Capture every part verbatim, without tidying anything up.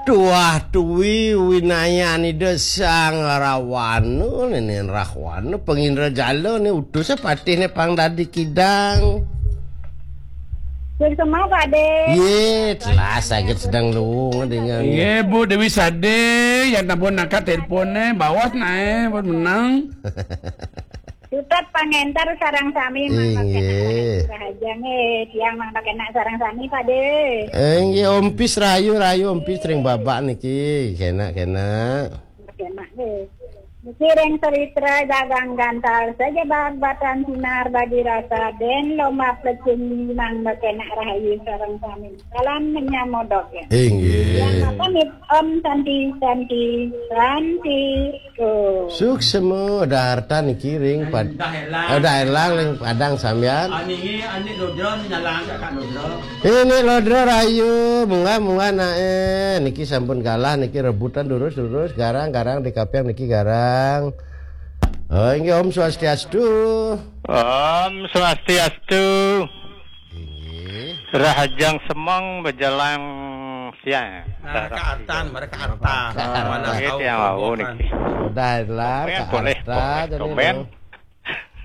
Tuah tui winayan Ida Sang Rawana, nenen Rahwana, pangindrajala, ne utus patih ne pang dadi kidang. Sing semua, Pak De. Ye, telah sakit sedang luung dengan. Ye, Bu Dewi Sade, yang nampun angkat teleponnya, bawas nae, buat menang. Tetap pangentar sarang sami, Mang Inggih. Pakenak, Rahayu Rahajang, eh, tiang Mang Pakenak sarang sami, Pak De. Inggih, Ompis rayu, rayu Ompis ring babak niki, kenak, kenak. Pakenak, eh. Niki ring Saritra dagang gantal saja bag batan sinar badi rasa den lomba plecing Mang Pakenak rahayu sarang sami. Salam menyamodok ya. Inggih. Yang apa nih? Om Santi, Santi, Santi. Tuh. Suksema, dah harta niki ring pad-, dah elang. Eh, dah elang ring padang sampean. Ani, ani Lodra, ni nyalang kat Lodra. Ini Lodra rayu, munggah, munggah nae. Niki sampun kalah, niki rebutan durus, durus, garang, garang di kapiang niki garang. Oh, inggih Om Swastiastu. Om Swastiastu. Inggih. Rahajeng semeng bejelang siang. Nah, Kak Artan, mereka Artan. Kak Artan. Mana tahu tiang wau niki. Dah lah, Kak Artan. Tumben.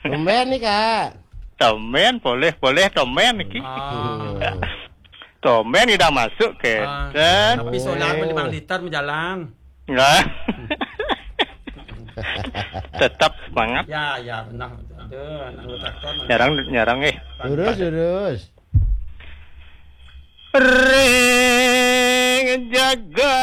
Tumben nih, Kak. Tumben, boleh, boleh tumben niki. Ah. Tumben ida masuk ke. Ah, ten. Tapi solar pun lima liter menjalang. Nah. Tetap semangat. Ya, ya, benar. Aduh, anak anggota kon. Nyarang, nyarang, eh. Lurus, lurus. Ring jaga